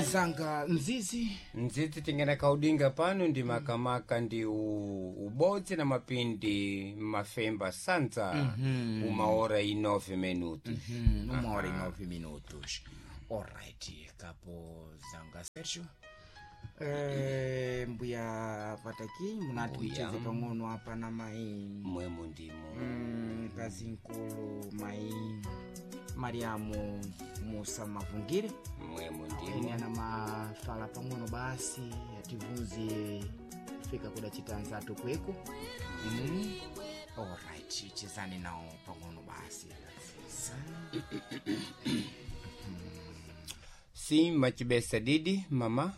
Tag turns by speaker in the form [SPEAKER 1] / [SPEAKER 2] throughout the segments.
[SPEAKER 1] Nzanga Mzizi.
[SPEAKER 2] Ndzidzi tingena kaudinga pano ndi makamaka ndi ubodzi na mapindi mafemba sanza uma hora e 9 minutos.
[SPEAKER 1] 1h09. Alright, kapo zanga Sergio. Mbuya Pataki, munati
[SPEAKER 2] Mbuya.
[SPEAKER 1] mcheze pang'ono apa na mai
[SPEAKER 2] Mwemo ndimo.
[SPEAKER 1] Kazi nkulu mai Mariamu Musa Mavungire.
[SPEAKER 2] Mwemo
[SPEAKER 1] Ene
[SPEAKER 2] ndimo.
[SPEAKER 1] ana mafala pang'ono basi ativunze kufika kuda chitanzatu kweko. Alright, chezani nawo pang'ono basi.
[SPEAKER 2] Sim, machibesa didi mama.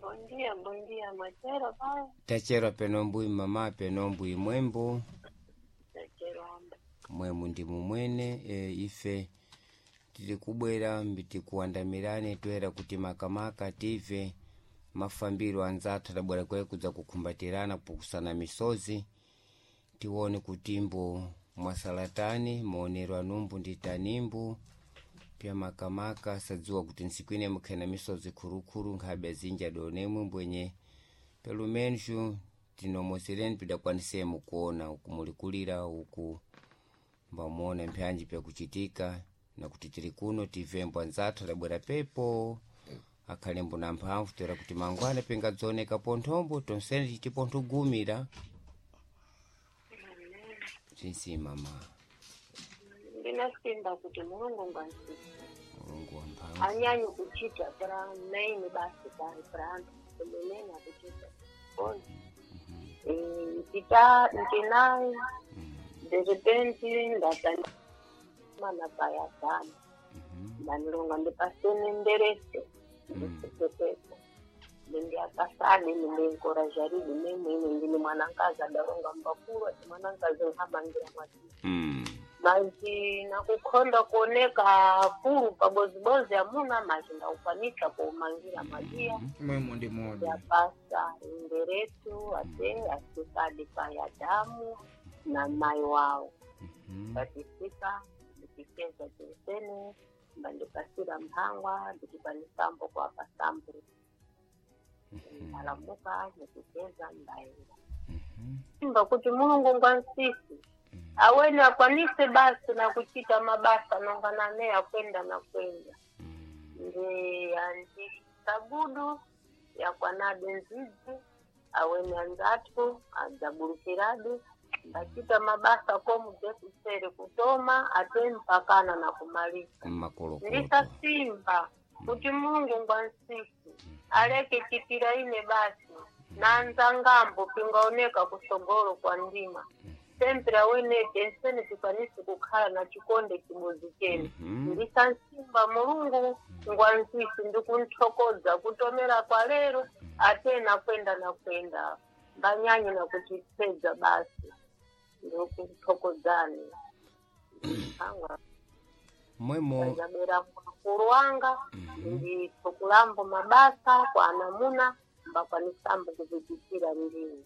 [SPEAKER 3] Bom dia, bom dia, Machero pai.
[SPEAKER 2] Tachera penombui mama penombui mwembo.
[SPEAKER 3] Tachero amba.
[SPEAKER 2] Mwemu ndimu mwene ife tili kubwera mbitikuandamirane toera kuti makamaka tive mafambiro anzathu adabwera kwaye kudza kukhumbatirana kupukusana misozi, tione kutimbo mwasalatani maonero anumbu ndi tanimbu pya makamaka sadziwa kuti ntsiku ine mukhena misozi khulukhulu nkhabe azinji adonemwe mbwenye pelo menos tinomozereni pidakwanisemu kuona uku mulikulira uku mbamuona mpyanji pyakuchitika na kuti tili kuno tivembo anzathu adabwera pepo akhalembo na mphamvu toera kuti mangwana pingadzoneka ponthombo tonsene titipo nthugumira zinsi mama.
[SPEAKER 3] Ndinasimba kuti Mulungu ngwansi.
[SPEAKER 2] Mulungu wa mphamvu.
[SPEAKER 3] Anyanyi kuchita pra main basi pai pra anthu kumenena kuchita. Bom. Mpita ntinai de repente ndatani mana paya dama. Ndanilonga ndipasene nderese. Ndisekepepo. Ndindiakasale ndinenkorajaridi memwene ndini mwanankazi adalonga mbakulu ati mwanankazi nhamangira mwati. Maji nakukhonda kuoneka fulu pabozibozi amuna maji ndakukwanisa kuumangira majiya.
[SPEAKER 1] Mwemo ndi modi.
[SPEAKER 3] Yapasa inderetu ate asikadi paya damu na mai wao. Patisika ndikicheza tinsene mbandipasira mphangwa ndikipanisambo kwa pasambo ndalamuka nikicheza mbaenda simba kuti Mulungu ngwansisi awene akwanise basi na kuchita mabasa nonganane akwenda na kwenda ndi andisabudu yakwanade nzizi awene anzathu adzabulukiradi mbachita mabasa komu jekusere kutoma ate mpakana na kumalisa.
[SPEAKER 2] Makolokolo.
[SPEAKER 3] Ndisasimba kuti Mulungu ngwansisi aleke chitira ine basi nanzangambo pingaoneka kusogolo kwa ndima sempera wenete ensene tikwanise kukhala na chikonde chimodzi chene. Ndisansimba Mulungu ngwansisi ndikunthokoza kutomera kwa lero ate nakwenda nakwenda mbanyanye nakuchipedza basi ndikuthokozani angwa.
[SPEAKER 2] Mwemo.
[SPEAKER 3] Ndabera mkulu wanga ndithukulambo mabasa kwa anamuna mbakwanisambo kupitikira ndini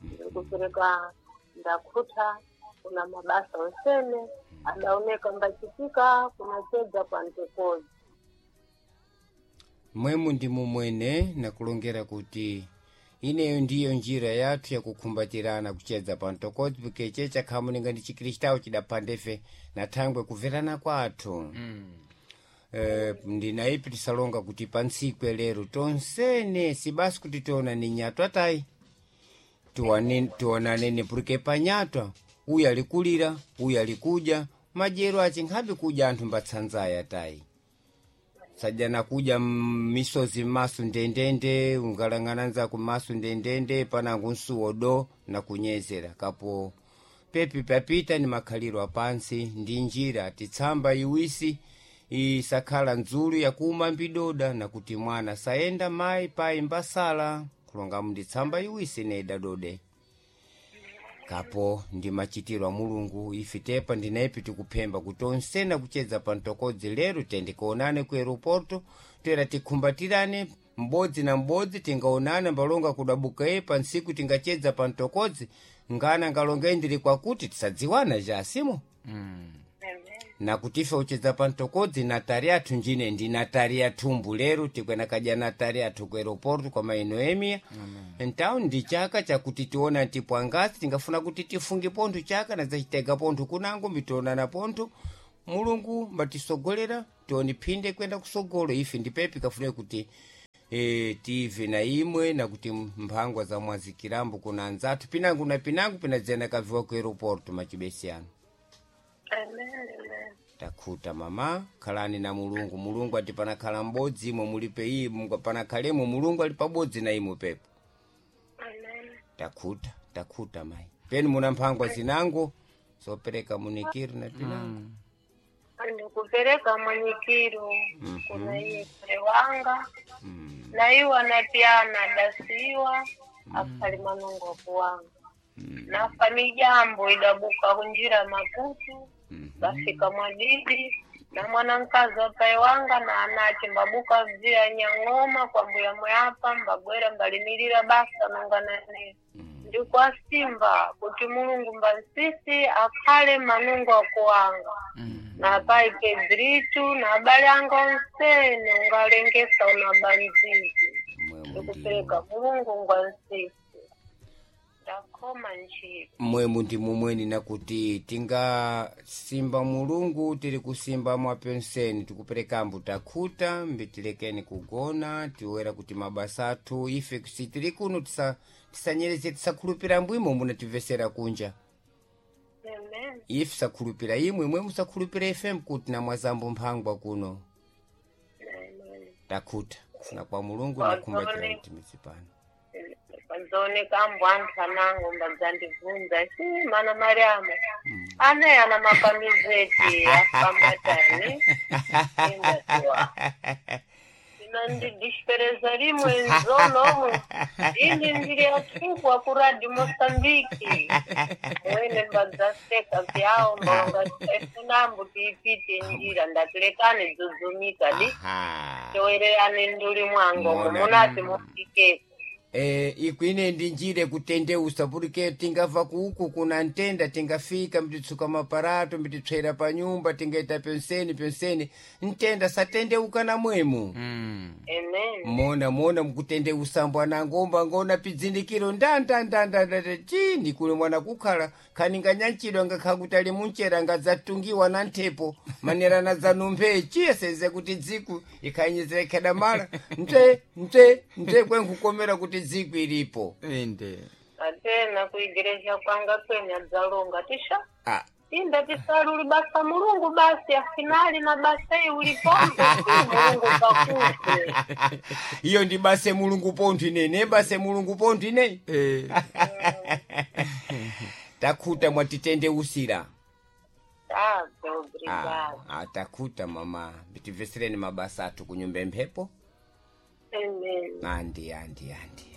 [SPEAKER 3] ndikupereka ndakhuta kuna mabasa onsene adaoneka mbachitika kunachedza kwa ntekozi.
[SPEAKER 2] Mwemu ndimu mwene nakulongera kuti ineyo ndiyo njira yathu yakukhumbatirana kuchedza pantokodzi pikeche chakhamuninga ndi chikristau chidaphandefe na thangwe kuverana kwathu. Ndinaipi tisalonga kuti pantsikwe lero tonsene sibasi kuti tionane nyatwa tayi tionanene pulike panyatwa uyu alikulira uyu alikuja madyero achi nkhabe kudya anthu mbatsanzaya tayi sajana kudya misozi mmasu ndendende ungalang'ana nzaku mmasu ndendende panangu nsuwo do nakunyezera kapo pepi papita ni makhaliro apansi ndi njira titsamba iwisi isakhala ndzulu yakuma mbidoda nakuti mwana sayenda mayi payi mbasala kulongamu ndi tsamba iwisi neda dode kapo ndi machitiro a Mulungu ife tepa ndinaipi tikuphemba kuti onsena kuchedza pa mtokodzi lero tendikuonane ku aeroporto toera tikhumbatirane m'bodzi na m'bodzi tingaonana mbalonga kudabuka ye pa ntsiku tingachedza pa mtokodzi ngana ngalonge ndili kwakuti tisadziwana jasimo. Na kuti ife uchedza pa mtokodzi natari athu njine ndi natari athumbu lero tikwena kadya natari athu ku aeroporto kwa mainoemia. Então ndi chaka chakuti tiona tipo angasi tingafuna kuti tifunge pontho chaka nadzachitega pontho kunango mitionana pontho Mulungu mbatisogolera tione phinde kwenda kusogolo ife ndipepi kafune kuti tive na imwe nakuti mphangwa za mwazikirambo kuna anzathu pinango na pinango pinadzena kaviwa ku aeroporto machibesiyano.
[SPEAKER 3] Amen, amen.
[SPEAKER 2] Takhuta mama, khalani na Mulungu. Mulungu ati panakhala m'bodzi imwe mulipe imwe panakhalemo Mulungu ali pabodzi na imwe pepo.
[SPEAKER 3] Amen.
[SPEAKER 2] Takhuta, takhuta mayi. Penu muna mphangwa zinango zopereka munikiro na pinango.
[SPEAKER 3] Ndikupereka mwenyikiro kuna iye kule wanga na iwa na pyana dasiwa akhali manungo akuwanga nafa mijambo idabuka kunjira Maputu bafika mwadidi na mwanankazi wapaye wanga na anache mbabuka mzira nyang'oma kwa mbuya mweyapa mbagwera mbalimirira basa nonganane ndikwa simba kuti Mulungu mbansisi akhale manungo akuwanga na pai Pedritu na abale anga onsene ungalengesa una banzizi
[SPEAKER 2] Mwemu
[SPEAKER 3] ndikupereka Mulungu ngwansisi ndakoma ntchito.
[SPEAKER 2] Mwemu ndi mumweni nakuti tingasimba Mulungu tiri kusimba mwapenseni tikuperekambo takhuta mbitilekeni kugona tiwera kuti mabasa athu ife sitiri kuno tisanyereze tisakhulupira mbwimo munativesera kunja.
[SPEAKER 3] Amen.
[SPEAKER 2] Ife sakhulupira imwe imwe musakhulupira ife mkuti na mwazambo mphangwa kuno.
[SPEAKER 3] Amen.
[SPEAKER 2] Takhuta kufuna kwa Mulungu nakhumbatira mtimidzi pano.
[SPEAKER 3] Pazooneka ambo anthu anango mbadzandibvunza si mana Mariamu ane ana makamizeti afambatani indatiwa inandidispereza rimwe nzonomwe ini ndiri atukwa kuradi Mosambiki mwene mbadzaseka vyawo mbaonga efunambo tiipite njira ndatilekane dzudzumika di
[SPEAKER 2] Aha.
[SPEAKER 3] towererane nduli mwango
[SPEAKER 2] Mona.
[SPEAKER 3] munati mufikeko.
[SPEAKER 2] Ikwine ndi njire kutendeusa pulike tingamva kuku kuna ntenda tingafika mbititsuka maparato mbititswera pa nyumba tingaita penseni penseni ntenda satendeuka na mwemu.
[SPEAKER 3] Amen.
[SPEAKER 2] Mona mona mukutendeusa mbwanangomba ngona pidzindikiro ndandandandanda chini kule mwana kukhala khaninga nyanchidwa ngakhala kuti ali munchera ngadzatungiwa na nthepo manera na zanumphe chiyeseze kuti dziku ikhanyizire khedamala mte mte mte kwenkukomera kuti dziku ilipo.
[SPEAKER 1] Inde.
[SPEAKER 3] Atena kuigereja kwanga kwene adzalonga tisha
[SPEAKER 2] Ah,
[SPEAKER 3] inda tisaluli basa Mulungu basi afinali na basa iyi ulipombe Mulungu pakupe.
[SPEAKER 2] Iyo ndi base Mulungu pontho ine base Mulungu pontho ine. Takhuta mwatitendeusira.
[SPEAKER 3] Ah, obrigado.
[SPEAKER 2] Takhuta mama, mbitimvesereni mabasa athu kunyumba emphepo.
[SPEAKER 3] Amen.
[SPEAKER 2] Andi andi andi.